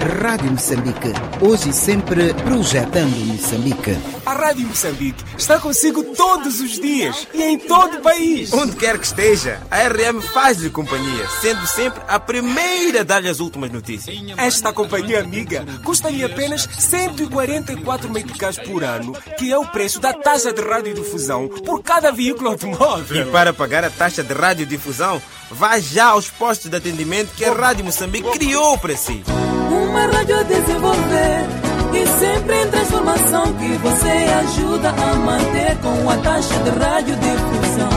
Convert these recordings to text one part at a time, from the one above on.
Rádio Moçambique, hoje e sempre projetando Moçambique. A Rádio Moçambique está consigo todos os dias e em todo o país. Onde quer que esteja, a RM faz-lhe companhia, sendo sempre a primeira a dar-lhe as últimas notícias. Esta companhia amiga custa-lhe apenas 144 meticais por ano, que é o preço da taxa de radiodifusão por cada veículo automóvel. E para pagar a taxa de radiodifusão, vá já aos postos de atendimento que a Rádio Moçambique criou para si. Uma rádio a desenvolver e sempre em transformação que você ajuda a manter com a taxa de radiodifusão.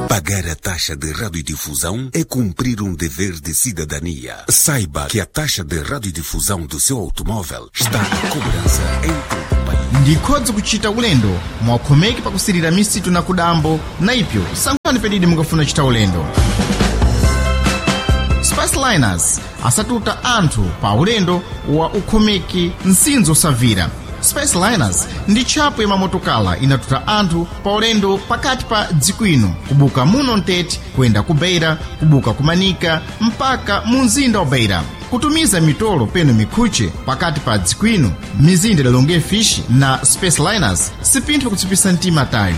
Pagar a taxa de radiodifusão é cumprir um dever de cidadania. Saiba que a taxa de radiodifusão do seu automóvel está à cobrança em todo o país. Ndikhodzi kuchita ulendo mwakhomeki pakusirira misitu na kudambo na ipyo sankhani pedidi mukafuna chita ulendo. Spaceliners asatuta anthu pa ulendo wa ukhomeki msinzo osavira. Spaceliners ndi tchapo ya mamotokala inatuta anthu pa ulendo pakati pa dziko ino kubuka muno mtete kuyenda ku Beira, kubuka ku Manika mpaka mu mzinda wa Beira, kutumiza mitolo peno mikhuche pakati pa dziko ino mizinda idalonge fish na Spaceliners sipinthu kutsipisa mtima tayo.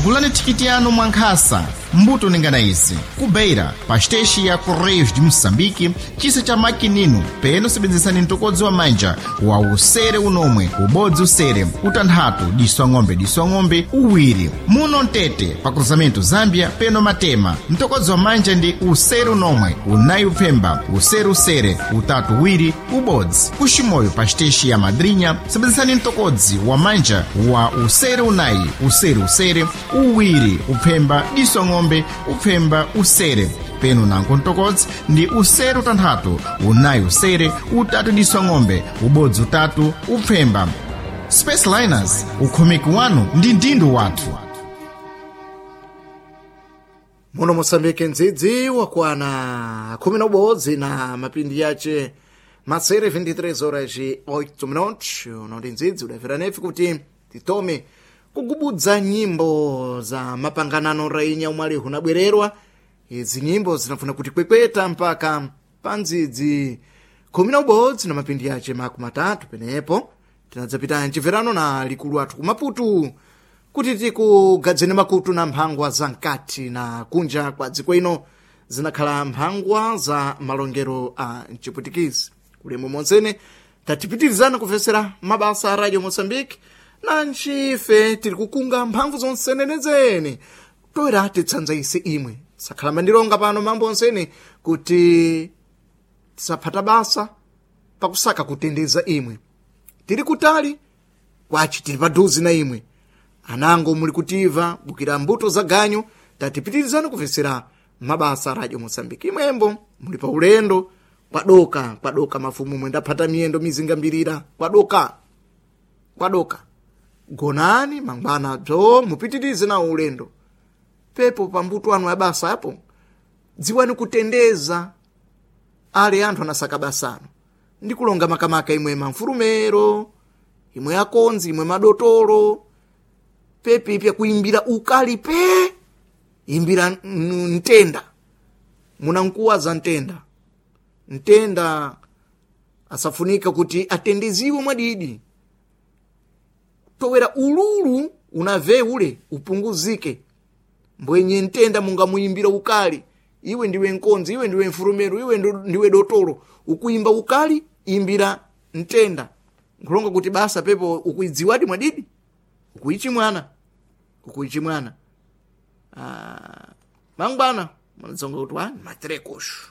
Gulani thikiti yanu mwankhasa mbuto ningana izi: ku Beira, pa xiteshi ya Correios de Moçambique, chisa cha makinino, peno sebenzesani mtokodzi wa manja wa usere unomwe, ubodzi usere, utanthatu diso ang'ombe diso ang'ombe uwiri. Muno mtete pa cruzamento Zambia peno Matema, mtokodzi wa manja ndi usere unomwe, unayi upfemba, usere usere, utatu uwiri, ubodzi. Kuximoyo pa xiteshi ya Madrinha sebenzesani mtokodzi wa manja wa usere unayi, usere usere, uwiri, upfemba, diso ng'ombe, upfemba, usere, peno nanko mtokodzi ndi usere utanthatu, unayi usere, utatu diso ng'ombe, ubodzi utatu upfemba. Spaceliners, ukhomeki wanu ndi ndindo wathu. Muno Moçambique ndzidzi wakwana 11 na mapindi yace masere, 23 horas e 8 minutos. Unoti ndzidzi udafera nefe kuti titome kugubudza nyimbo za mapanganano rainya umwali hunabwererwa. Izi nyimbo zinafuna kuti kwekweta mpaka pa ndzidzi 11 na mapindi yace 30. Penepo tinadzapita mchimverano na likulu athu kumaputu kuti tikugadzeni makutu na mphangwa za mkati na kunja kwa dziko ino, zinakhala mphangwa za malongero a mchiputikizi. Kulemu monsene tatipitirizana kufesera mabasa a Radio Moçambique na ncife tiri kukunga mphamvu zonsenenezene toera titsanza ise imwe sakhala mandilonga pano mambo onsene kuti tisaphata basa pakusaka kutendeza imwe. Tiri kutali kwaci tili paduzi na imwe anango muli kutiva bukira mbuto za ganyu. Tatipitirizani kufesera mabasa a Radio Moçambique. Imwembo muli pa ulendo kwadoka kwadoka mafumu mwendaphata miyendo mizinga mbirira kwadoka kwadoka, gonani mangwana bzo mupitirize nawo ulendo. Pepo pambuto anu abasa apo dziwani kutendeza ali anthu anasaka basano ndi kulonga makamaka imwe mamfurumero, imwe akonzi, imwe madotolo. Pepe ipya kuimbira ukali pe imbira ntenda munankuwa za ntenda ntenda asafunika kuti atendeziwe mwadidi towera ululu unave ule upunguzike mbwenye ntenda mungamuimbira ukali. Iwe ndiwe nkonzi, iwe ndiwe mfurumero, iwe ndiwe dotolo, ukuimba ukali imbira ntenda nkulonga kuti basa pepo ukuidziwadi mwadidi ukuichi mwana ukuichi mwana. Ah, mangwana munadzonga kuti wani matrekosho.